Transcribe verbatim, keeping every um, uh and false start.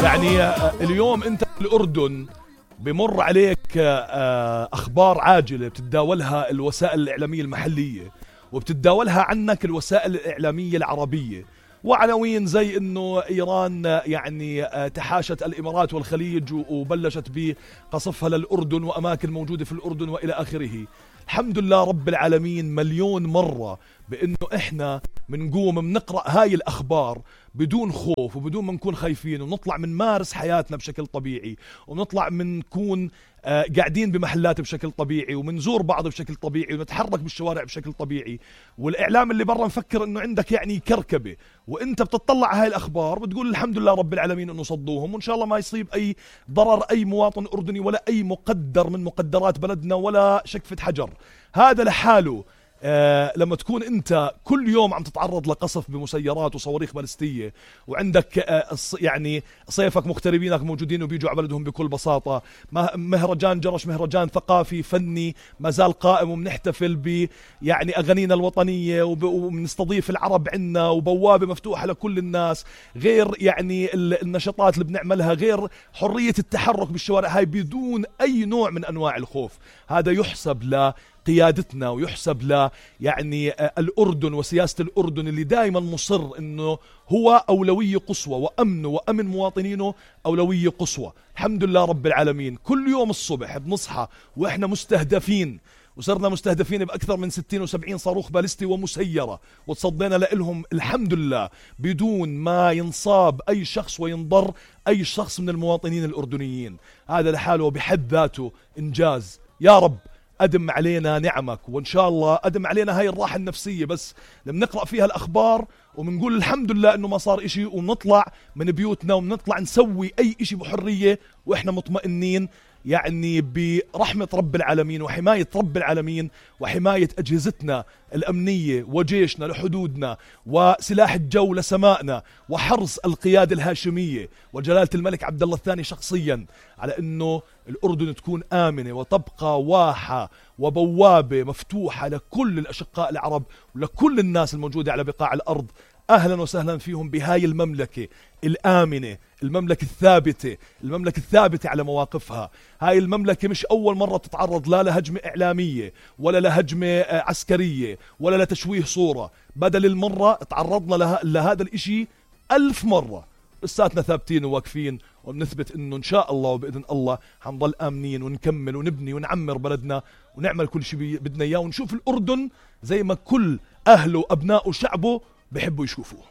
يعني اليوم انت في الأردن بمر عليك أخبار عاجلة بتتداولها الوسائل الإعلامية المحلية وبتتداولها عنك الوسائل الإعلامية العربية، وعناوين زي انه ايران يعني تحاشت الامارات والخليج وبلشت بقصفها للأردن واماكن موجودة في الأردن والى اخره. الحمد لله رب العالمين مليون مرة بانه احنا منقوم منقرأ هاي الاخبار بدون خوف وبدون ما نكون خايفين، ونطلع من مارس حياتنا بشكل طبيعي، ونطلع من نكون آه قاعدين بمحلات بشكل طبيعي، ومنزور بعض بشكل طبيعي، ونتحرك بالشوارع بشكل طبيعي. والاعلام اللي برا مفكر انه عندك يعني كركبة، وانت بتطلع على هاي الاخبار بتقول الحمد لله رب العالمين انه صدوهم، وان شاء الله ما يصيب اي ضرر اي مواطن اردني ولا اي مقدر من مقدرات بلدنا ولا شكفة حجر. هذا لحاله آه لما تكون انت كل يوم عم تتعرض لقصف بمسيرات وصواريخ باليستية، وعندك آه يعني صيفك مغتربينك موجودين وبيجوا على بلدهم بكل بساطة، مهرجان جرش مهرجان ثقافي فني ما زال قائم، وبنحتفل ب يعني اغانينا الوطنية وبنستضيف العرب عنا، وبوابة مفتوحة لكل الناس، غير يعني النشاطات اللي بنعملها، غير حرية التحرك بالشوارع هاي بدون اي نوع من انواع الخوف. هذا يحسب ل قيادتنا ويحسب ل يعني الأردن وسياسة الأردن اللي دائما مصر انه هو أولوية قصوى، وأمنه وأمن مواطنينه أولوية قصوى. الحمد لله رب العالمين كل يوم الصبح بنصحى وإحنا مستهدفين، وصرنا مستهدفين بأكثر من ستين وسبعين صاروخ باليستي ومسيرة، وتصدينا لهم الحمد لله بدون ما ينصاب أي شخص وينضر أي شخص من المواطنين الأردنيين. هذا لحاله بحد ذاته إنجاز. يا رب أدم علينا نعمك، وإن شاء الله أدم علينا هاي الراحة النفسية بس لما نقرأ فيها الأخبار ومنقول الحمد لله إنه ما صار إشي، ونطلع من بيوتنا ونطلع نسوي أي إشي بحرية وإحنا مطمئنين يعني برحمة رب العالمين وحماية رب العالمين وحماية أجهزتنا الأمنية وجيشنا لحدودنا وسلاح الجو لسمائنا وحرص القيادة الهاشمية وجلالة الملك عبد الله الثاني شخصيا على أنه الأردن تكون آمنة وتبقى واحة وبوابة مفتوحة لكل الأشقاء العرب ولكل الناس الموجودة على بقاع الأرض. أهلا وسهلا فيهم بهاي المملكة الآمنة، المملكة الثابتة، المملكة الثابتة على مواقفها. هاي المملكة مش أول مرة تتعرض لا لهجمة إعلامية ولا لهجمة عسكرية ولا لتشويه صورة، بدل المرة تعرضنا له... لهذا الإشي ألف مرة. لساتنا ثابتين وواقفين وبنثبت إنه إن شاء الله وبإذن الله حنضل آمنين ونكمل ونبني ونعمر بلدنا ونعمل كل شيء بدنا إياه، ونشوف الأردن زي ما كل أهله وأبنائه وشعبه بحبوا يشوفوه.